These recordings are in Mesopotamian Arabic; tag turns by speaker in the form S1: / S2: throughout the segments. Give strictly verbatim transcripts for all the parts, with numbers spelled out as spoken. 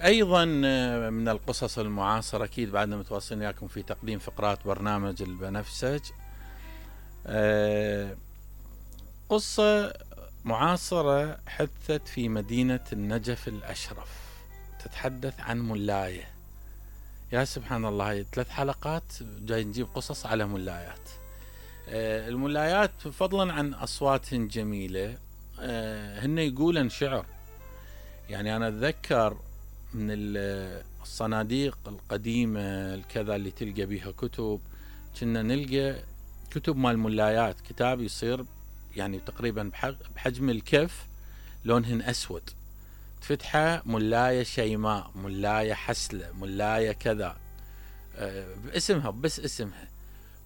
S1: أيضا من القصص المعاصرة، أكيد بعدنا متواصلين وياكم في تقديم فقرات برنامج البنفسج. قصة معاصرة حدثت في مدينة النجف الأشرف، تتحدث عن ملاية. يا سبحان الله، هاي ثلاث حلقات جاي نجيب قصص على ملايات. الملايات فضلا عن أصوات جميلة هن يقولن شعر. يعني أنا أتذكر من الصناديق القديمة الكذا اللي تلقى بيها كتب، كنا نلقى كتب مال ملايات، كتاب يصير يعني تقريبا بحجم الكف، لونهن أسود، تفتحه ملاية شيماء، ملاية حسلة، ملاية كذا، باسمها بس اسمها.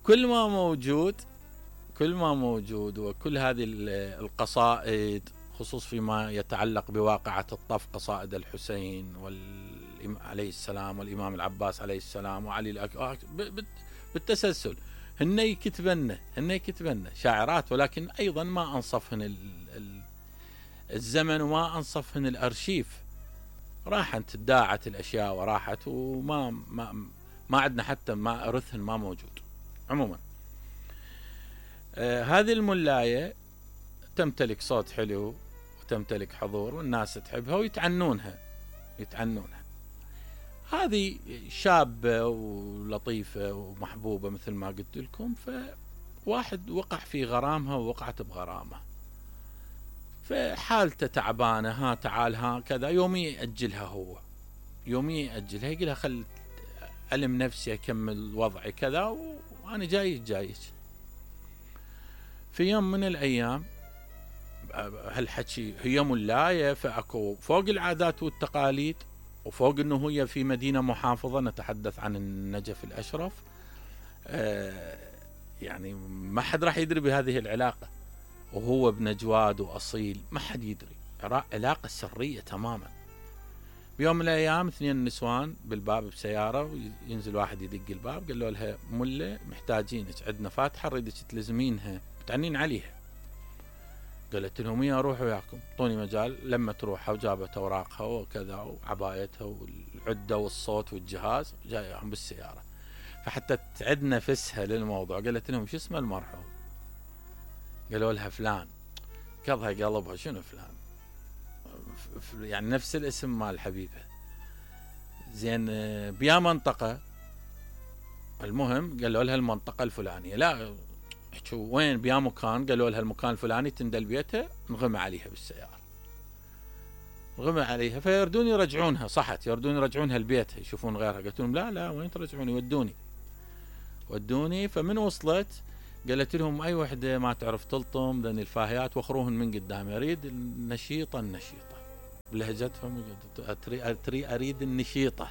S1: كل ما موجود كل ما موجود وكل هذه القصائد، خصوص فيما يتعلق بواقعة الطف، قصائد الحسين عليه السلام والإمام العباس عليه السلام وعلي الأكبر بالتسلسل، هن يكتبن هن يكتبن شاعرات، ولكن أيضا ما أنصفهن الزمن وما أنصفهن الأرشيف. راحت تداعت الأشياء وراحت، وما ما ما عندنا حتى ما إرثهن ما موجود. عموما آه هذه الملاية تمتلك صوت حلو وتمتلك حضور، والناس تحبها ويتعنونها يتعنونها. هذه شابة ولطيفة ومحبوبة مثل ما قلت لكم، فواحد وقع في غرامها ووقعت بغرامه، فحالته تعبانة، ها تعال ها كذا، يومي يأجلها، هو يومي يأجلها، يقولها خل ألم نفسي أكمل وضعي كذا وأنا جاي جايك. في يوم من الأيام هالحكي هي ملاية، فأكو فوق العادات والتقاليد وفوق أنه هي في مدينة محافظة، نتحدث عن النجف الأشرف، آه يعني ما حد راح يدري بهذه العلاقة، وهو ابن جواد وأصيل، ما حد يدري، علاقة سرية تماما. بيوم من الأيام اثنين نسوان بالباب بسيارة، وينزل واحد يدق الباب، قال له لها ملة محتاجينك، عندنا فاتحة نريدك تلزمينها، بتعنين عليها. قالت لهم يا روح وياكم، اعطوني مجال. لما تروحها وجابت اوراقها وكذا وعبايتها والعده والصوت والجهاز، جايهم بالسياره. فحتى تعد نفسها للموضوع قالت لهم شو اسم المرحوم؟ قالوا لها فلان. قضها قلبها، شنو فلان؟ يعني نفس الاسم مال حبيبها. زين بيا منطقه؟ المهم قالوا لها المنطقه الفلانيه. لا شو وين بيا مكان؟ قالوا لها المكان الفلاني، تندل بيتها، نغمى عليها بالسيارة، نغمى عليها. فيردون يرجعونها، صحت، يردون يرجعونها لبيتها يشوفون غيرها. قلت لهم لا لا وين ترجعوني؟ ودوني ودوني. فمن وصلت قالت لهم اي وحده ما تعرف تلطم ذني الفاهيات وخروهن من قدام، اريد النشيطه النشيطه بلهجتهم، اتري اريد النشيطه،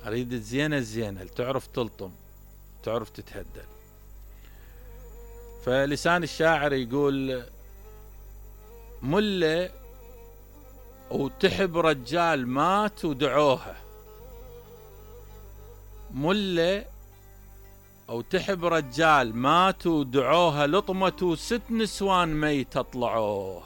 S1: اريد الزينه الزينه اللي تعرف تلطم تعرف تتهدل. فلسان الشاعر يقول ملة وتحب رجال مات ودعوها، ملة أو تحب رجال مات ودعوها، لطمة ست نسوان ميتة طلعوها.